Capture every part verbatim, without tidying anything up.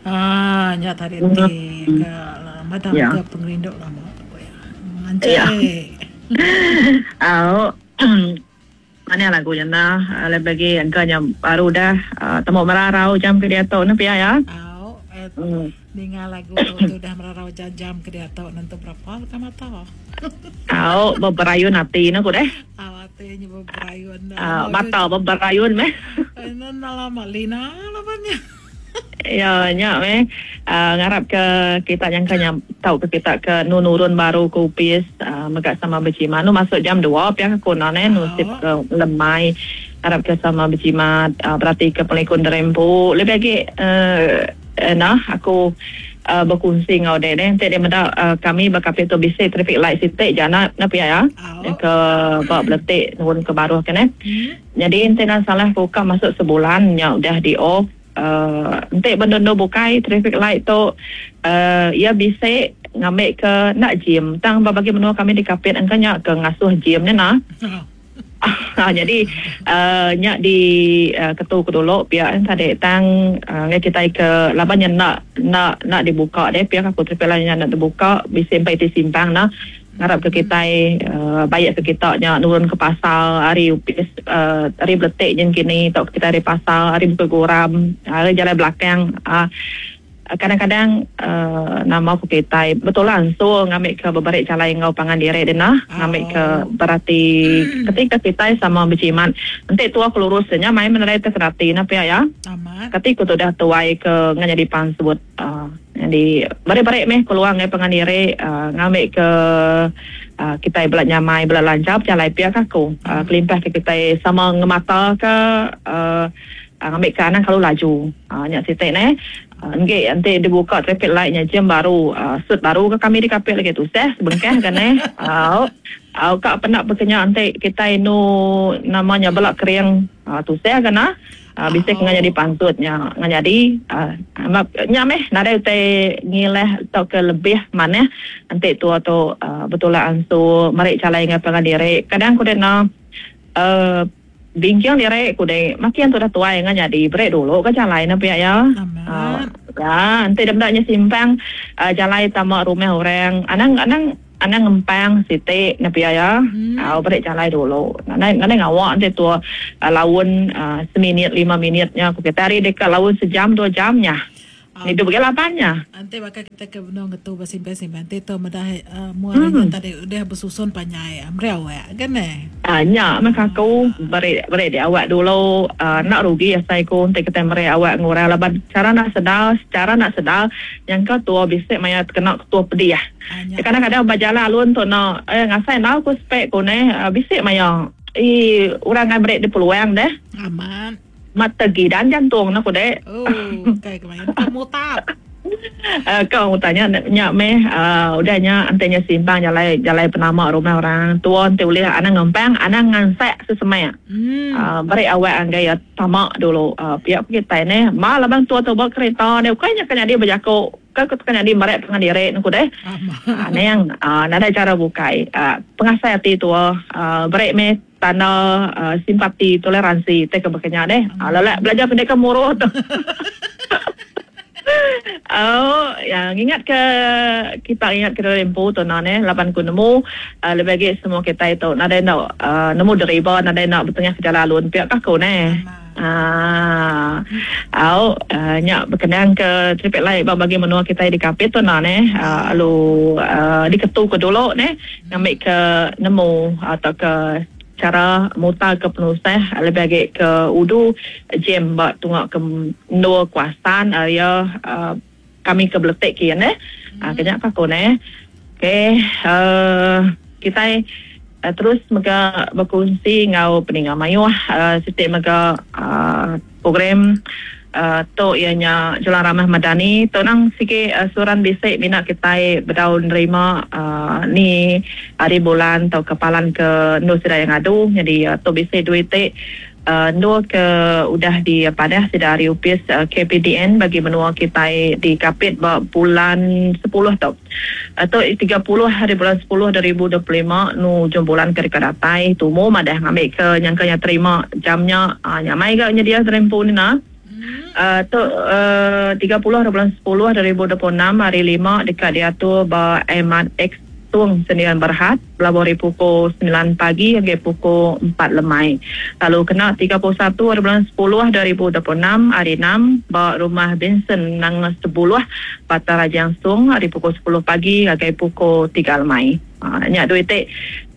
Ah, nya tadi ti ke madam Ya. ke pengerindu lama tu ya. Ya. Anjay. Au. Mana lagu nya nah, lebih lagi angkanya baru dah uh, temu merarau jam ke dia tu ne pia ya. Au, eh, Hmm. ninga lagu tu tu dah merarau jam-jam ke dia tu nentu berapa leka mata. Au, beberayun hati ne ku deh. Au ati nya beberayun dah. Uh, mata beberayun meh. Eh, lama lina labannya. Ya, nya meh. Uh, ngarap ke kita yang kanya tahu ke kita ke nu nurun baru ke upis uh, mega sama berjimat. Nu masuk jam dua pihak aku na ne nu sip ke lemai. Harap ke sama berjimat uh, berarti ke pelikun derempu. Lebih lagi uh, uh, nah aku uh, berkongsi ngau dek deh. Nanti dia meda uh, kami berkapit tu bisik traffic light sitik jana na pihak ya. Au. Ke bak beletik nurun ke baruh kan eh. Hmm. Jadi ente nak salah buka masuk sebulan nya udah di off. Uh, ente benda-benda bukai traffic light tu uh, ia bisik ngambil ke nak gym. Tang bagi menua kami di Kapit angkanya ke ngasuh gym ni nah. Ah, jadi uh, nyak di uh, ketu ke dulu pihak tadi tang uh, ngai kita ke laban nya nak nak nak dibuka deh pihak aku traffic light nya nak dibuka bisik sampai ti simpang nah. Ngarap ke kita uh, baik ke kita nya nurun ke pasar hari upis uh, hari beletik jen kini tok kita hari pasar hari buka goram hari jalan belakang uh, kadang-kadang uh, nama aku kita betul langsung ngambil ke beberapa jalan ngau pangan diri dia nah ngambil ke berarti ketika kita sama berjimat nanti tua kelurusnya main menerai terserati nah pia ya Amat. ketika tu dah tuai ke nganya di pansut uh, jadi bare-bare meh keluar ngai pangan diri uh, ngambil ke uh, kita belak nyamai belak lancar jalan pia aku uh, kelimpah ke kita sama ngemata ke uh, uh, ngambil ke anak kalau laju uh, nyak sitik ne uh, nggih nanti dibuka traffic light nya jam baru uh, sut baru ke kami di Kapit lagi tu seh sebengkah kan eh au au kak penak berkenya nanti kita nu namanya belak kering uh, tu seh kan ah Uh, bisa Oh. oh. jadi pantutnya ngajadi uh, nya meh nadai utai ngileh atau ke lebih mana nanti tua tu uh, betul lah ansu merek calai ngai pangan diri kadang ku dena uh, bingkiang diri ku de makin tu dah tuai ngajadi break dulu ke calai na pia ya. Amat. Uh, ya nanti dah nya simpang uh, jalai tamak rumah orang anang anang anang ngempang sitik na pia ya. Hmm. Ah, break jalai dulu. Nanai nanai ngawak nanti tua uh, laun uh, seminit lima minitnya aku kita hari dekat laun sejam dua jamnya. Au. Itu bagi lapannya. Nanti bakal kita ke benong ketu bersimpan-simpan. Nanti tu medah uh, muaranya Hmm. tadi udah bersusun panjai. Amri awak kan eh? Ah, nyak maka aku beri beri di awak dulu uh, nak rugi ya saya ku nanti kita beri awak ngurang laban cara nak sedar secara nak sedar yang kau tua bisik maya kena tua pedih ah. Ah, nyak. Kadang-kadang berjalan alun tu nak eh ngasai nak aku spek ku ne uh, bisik maya eh orang ngai beri di peluang deh. Aman. Mata gidan jantung nak ku dek. Oh, kayak kemarin kamu tap. Uh, kau tanya nyak meh uh, udah nya antenya simpang jalai jalai penama rumah orang tua nanti boleh anak ngempang anak ngansek sesemai. Hmm. Uh, beri awak anggai ya tamak dulu uh, pihak kita ni malah bang tua tu bawa kereta ni bukannya kena dia berjakuk ke kena dia merek pengan diri nuku deh. Aman. Ah, ni yang uh, nada cara bukai uh, pengasai hati tua uh, beri meh tanda uh, simpati toleransi teh kebekenya deh. Uh, lelak belajar pendek muruh tu. Oh, yang ingat ke kita ingat ke rempu tu nah ne lapan ku nemu uh, lebih lagi semua kita itu nada nak uh, nemu deriba nada nak bertengah ke jalan alun pihak aku ne. Ah, au uh, nyak berkenaan ke traffic light bagi menua kita di Kapit tu nah ne uh, lalu uh, diketu ke dulu ne ngambil ke nemu atau ke cara mutar ke penusah lebih lagi ke udu jam bak tungak ke dua kuasan area uh, kami ke beletik kian eh hmm. uh, kenyak aku ne okey uh, kita uh, terus mega berkongsi ngau peninga mayuh uh, sitik mega uh, program uh, tu ianya Jalan Ramah Madani tu nang sikit uh, suran bisik minat kita berdaun nerima uh, ni hari bulan atau kepalan ke nu sida yang adu jadi uh, tu bisik duit tik uh, nu ke udah di padah sida hari upis uh, K P D N bagi menua kita di Kapit ba bulan sepuluh tu atau tiga puluh hari bulan sepuluh dua ribu dua puluh lima nu jom bulan ke dekat datai tumu madah ngambil ke nyangkanya terima jamnya uh, nyamai gak nya dia terempu ni nah. Uh, tu uh, tiga puluh bulan sepuluh dua ribu dua puluh enam hari lima dekat diatur ba Ahmad X Tung Sendirian Berhad berlabuh dari pukul sembilan pagi hingga pukul empat lemai. Lalu kena tiga puluh satu bulan sepuluh dua ribu dua puluh enam hari enam ba rumah Vincent Nang sepuluh Batang Rajang Sung hari pukul sepuluh pagi hingga pukul tiga lemai. Ha, nyak duit tek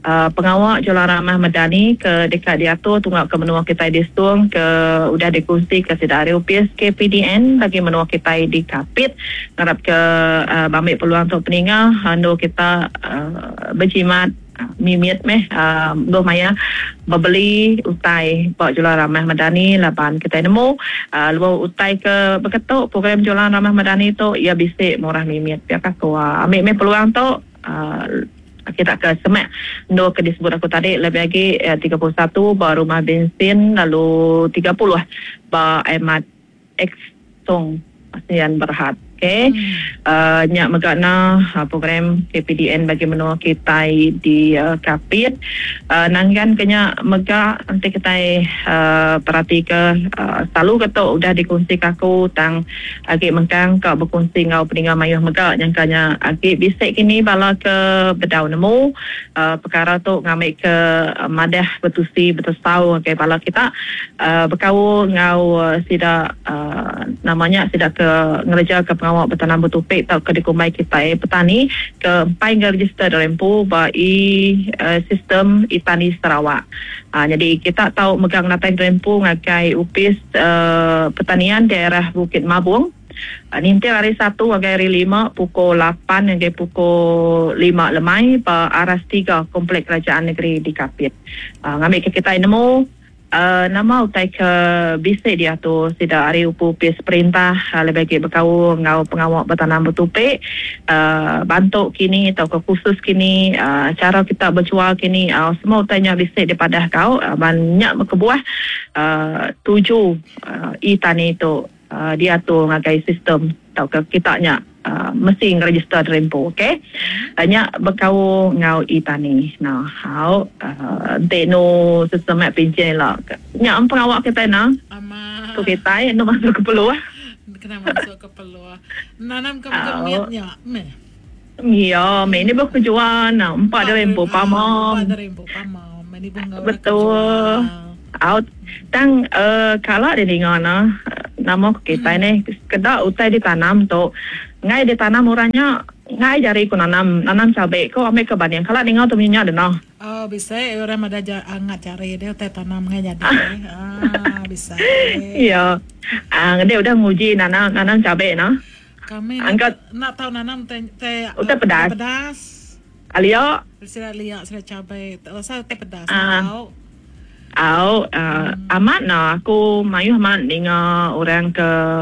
uh, pengawal Jualan Ramah Madani ke dekat diatur tunggak ke menua kita di Stung ke udah dikongsi ke sida hari U P S K P D N bagi menua kita di Kapit ngarap ke uh, bamik peluang untuk peninga anu kita uh, berjimat mimit meh uh, doh maya berbeli utai pak Jualan Ramah Madani laban kita nemu uh, lu utai ke berketuk program Jualan Ramah Madani tu ia bisik murah mimit pihak aku uh, ambil meh peluang tu uh, kita ke semak no ke disebut aku tadi lebih lagi eh, tiga puluh satu ba rumah bensin lalu tiga puluh ba Ahmad X Song Asian Berhad. Okey. Hmm. Uh, nyak megakna uh, program K P D N bagi menua kita di uh, Kapit. Uh, nanggan kenya megak nanti kita uh, perhati ke uh, selalu ketuk udah dikongsi kaku tang agi mengkang ka berkongsi ngau peninga mayuh megak nyangkanya agi bisik kini bala ke bedau nemu uh, perkara tu ngambil ke uh, madah bertusi bertesau ke bala kita uh, berkau ngau uh, sida uh, namanya sida ke ngereja ke awak bertanam bertupik atau ke dikumbai kita eh, petani ke empai register dalam pu ba i uh, sistem itani Sarawak. Ha, jadi kita tahu megang natai dalam pu ngagai upis uh, pertanian daerah Bukit Mabung. Uh, nintil hari satu hingga hari lima pukul lapan hingga pukul lima lemai ba aras tiga Komplek Kerajaan Negeri di Kapit. Uh, ngambil ke kita nemu Uh, nama utai ke bisik dia tu sida hari upu pis perintah uh, lebih lagi berkau ngau pengawak bertanam bertupik uh, bantuk kini atau ke khusus kini uh, cara kita berjual kini uh, semua utainya bisik daripada kau uh, banyak berkebuah uh, tuju uh, e-tani tu uh, dia tu ngagai sistem atau ke kitanya Uh, mesti register rempo, okey. Banyak berkau ngau e-tani. Nah, how uh, no sistem mak pincin lah. Nyak pengawak kita nah. Ama. Tu kita no masuk ke peluah. Kena masuk ke peluah. Nanam ke kemitnya, meh. Ya, meh ni berkejuan nah, empat rempo pamom. Empat rempo pamom. Meh ni bunga. Betul. Out tang uh, kalau dia dengar nah nama kita ni kedak utai ditanam tu ngai ditanam orangnya ngai jari ku nanam nanam cabai ko ambil ke banding kalau dengar tu minyak dah noh. Oh bisa orang ada angat cari dia utai tanam ngai jadi. Ah bisa. Ya. Ah dia udah nguji nanam nanam cabai noh. Kami angkat nak tahu nanam teh teh utai pedas. Pedas. Alio. Sira liak sira cabai. Rasa utai pedas. Ah. Au, uh, hmm. Amat nah aku mayuh amat dengar orang ke